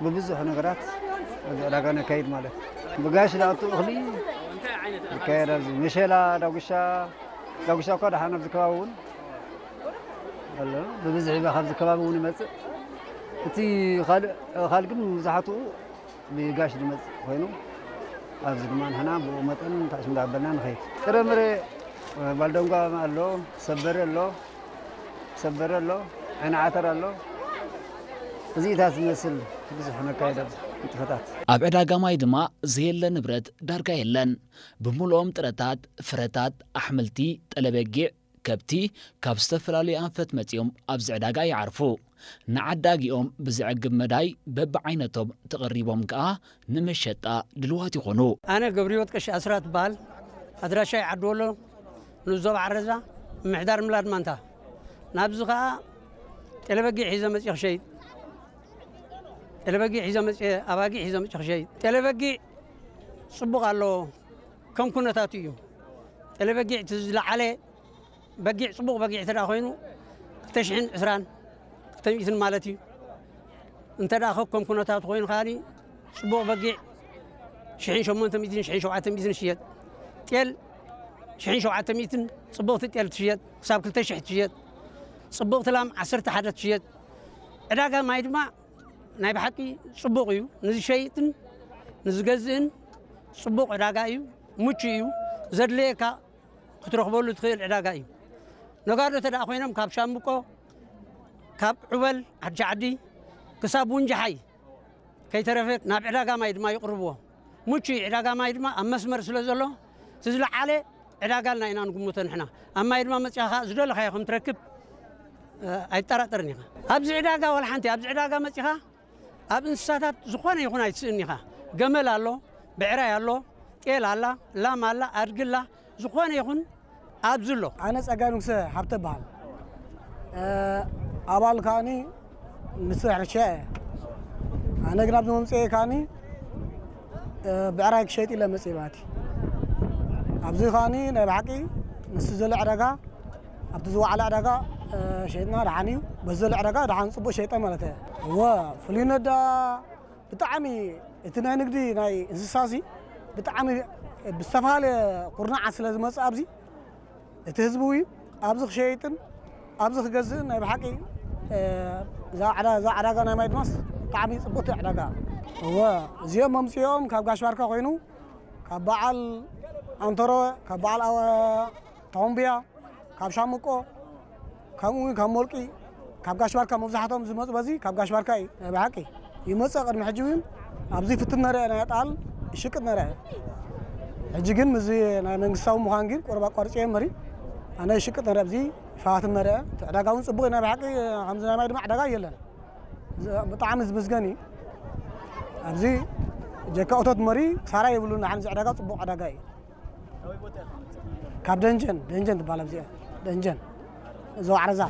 ብብዙሕ ነገራት ኣብዚ ዕዳጋ ነካይድ ማለት እዩ። ብጋሽ ዝኣቱ እኽሊ ይካየድ። ኣብዚ መሸላ፣ ዳጉሻ፣ ዳጉሻ እኳ ደሓን ኣብዚ ከባቢ እውን ኣሎ። ብብዝሒ ካብዚ ከባቢ እውን ይመፅእ። እቲ ካልእ ካልእ ግን መብዛሕትኡ ብጋሽ ዝመፅእ ኮይኑ ኣብዚ ድማ ንሕና ብኡ መጠን ታሽም ዳበልና ንኸይድ። ጥረምረ ባልደንጓ ኣሎ፣ ሰበረ ኣሎ፣ ሰበረ ኣሎ፣ ዓይኒ ዓተር ኣሎ። እዚኢታት ዝመስል ብዙሕ ነካይድ ኣብዚ ንጥፈታት። ኣብ ዕዳጋ ማይ ድማ ዘየለ ንብረት ዳርጋ የለን። ብምሉኦም ጥረታት፣ ፍረታት፣ ኣሕምልቲ፣ ጠለበጊዕ፣ ከብቲ ካብ ዝተፈላለዩ ኣንፈት መጺኦም ኣብዚ ዕዳጋ ይዓርፉ። ንዓዳጊኦም ብዘዕግብ መዳይ በብዓይነቶም ተቐሪቦም ከኣ ንመሸጣ ድልዋት ይኾኑ። ኣነ ገብረህይወት ቀሺ ኣስራት እበሃል። ኣድራሻይ ዓዲ ወሎ፣ ንኡስ ዞባ ዓረዛ፣ ምምሕዳር ምላድ ማንታ። ናብዚ ከኣ ጤለበጊዕ ሒዘ መጺእ ክሸይጥ፣ ጤለበጊዕ ሒዘ መጺእ፣ ኣባጊዕ ሒዘ መጺእ ክሸይጥ። ጤለበጊዕ ጽቡቕ ኣለዎ፣ ከም ኩነታቱ እዩ። ጤለበጊዕ እቲ ዝለዓለ በጊዕ፣ ጽቡቕ በጊዕ እንተ ደኣ ኮይኑ፣ ክልተ ሽሕን ዕስራን፣ ክልተ ሚእትን ማለት እዩ። እንተ ደኣ ከከም ኩነታቱ ኮይኑ ከኣኒ፣ ጽቡቕ በጊዕ ሽሕን ሸሞንተ ሚእትን፣ ሽሕን ሸውዓተ ሚእትን ይሽየጥ። ጤል ሽሕን ሸውዓተ ሚእትን ጽብቕቲ ጤል ትሽየጥ፣ ክሳብ ክልተ ሽሕ ትሽየጥ። ጽብቕቲ ላም ዓሰርተ ሓደ ትሽየጥ። ዕዳጋ ማይ ድማ ናይ ብሓቂ ጽቡቕ እዩ። ንዝሸይጥን ንዝገዝእን ጽቡቕ ዕዳጋ እዩ፣ ምቹእ እዩ። ዘድለየካ ክትረኽበሉ ትኽእል ዕዳጋ እዩ። ነጋዶ እንተ ደኣ ኮይኖም ካብ ሻምብቆ፣ ካብ ዑበል፣ ሓድሽ ዓዲ ክሳብ ውንጃሓይ ከይተረፈ ናብ ዕዳጋ ማይ ድማ ይቕርብዎ። ምቹእ እዩ። ዕዳጋ ማይ ድማ ኣብ መስመር ስለ ዘሎ፣ እቲ ዝለዓለ ዕዳጋ ኢልና ኢና ንግምቶ ንሕና። ኣብ ማይ ድማ መጺኻ ከኣ ዝደለኻዮ ከም ትረክብ፣ እ፣ ኣይጠራጠርን ኢኻ። ኣብዚ ዕዳጋ ዋላ ሓንቲ፣ ኣብዚ ዕዳጋ መጺኻ ኣብ እንስሳታት ዝኾነ ይኹን ኣይትስእን ኢኻ። ገመል ኣሎ፣ ብዕራይ ኣሎ፣ ጤል ኣላ፣ ላም ኣላ፣ ኣድጊ ኣላ፣ ዝኾነ ይኹን ኣብዚ ኣሎ። ኣነ ጸጋይ ንጉሰ ሃብተ እበሃል። እ፣ ኣባል ከኣኒ ምስ ሕርሻ እየ። ኣነ ግን ኣብዚ መምጽኤ ከኣኒ፣ እ፣ ብዕራይ ክሸይጥ ኢለ መጽእ ማለት እዩ። ኣብዚ ከኣኒ ናይ ብሓቂ ምስቲ ዘሎ ዕዳጋ፣ ኣብቲ ዝወዓለ ዕዳጋ፣ እ፣ ሸይጥና ደሓን እዩ። በዚ ዘሎ ዕዳጋ ደሓን ጽቡቕ ሸይጠ ማለት እየ። እወ፣ ፍሉይነት ደኣ ብጣዕሚ እቲ ናይ ንግዲ ናይ እንስሳሲ ብጣዕሚ ብዝተፈላለየ ኩርናዓት ስለ ዝመጽእ ኣብዚ እቲ ህዝቢ እውን ኣብዚ ክሸይጥን ኣብዚ ክገዝእን ናይ ብሓቂ፣ እ፣ እዛ ዕዳ-፣ እዛ ዕዳጋ ናይ ማይ ድማስ ብጣዕሚ ጽብቕቲ ዕዳጋ። እወ፣ እዚኦም መምጽኦም ካብ ጋሽ ባርካ ኮይኑ፣ ካብ በዓል ኣንተሮ፣ ካብ በዓል ኣወ-፣ ቶምብያ፣ ካብ ሻምቆ፣ ከምኡ እውን ካብ ሞልቂ፣ ካብ ጋሽ ባርካ መብዛሕትኦም ዝመጹ በዚ ካብ ጋሽ ባርካ እዩ። ናይ ብሓቂ ይመጽእ። ቅድሚ ሕጂ እውን ኣብዚ ፍትን ነረ ናይ ጣል ይሽቅጥ ነረ። ሕጂ ግን ምስዚ ናይ መንግስታዊ ምዃን ግን ቁሩብ ኣቋርጽ እየ እምበሪ፣ ኣነ ይሽቅጥ ነረ፣ ኣብዚ ይፈታትን ነረ። እቲ ዕዳጋ እውን ጽቡቕ እዩ። ናይ ብሓቂ ከምዚ ናይ ማይ ድማ ዕዳጋ የለን። ዝ-፣ ብጣዕሚ ዝምስገን እዩ። ኣብዚ ጀካ እቶት መሪ ክሳራ የብሉን። ንሓን እዚ ዕዳጋ ጽቡቕ ዕዳጋ እዩ። ካብ ደንጀን፣ ደንጀን ትበሃል ኣብዚኣ። ደንጀን። ዞባ ዓረዛ።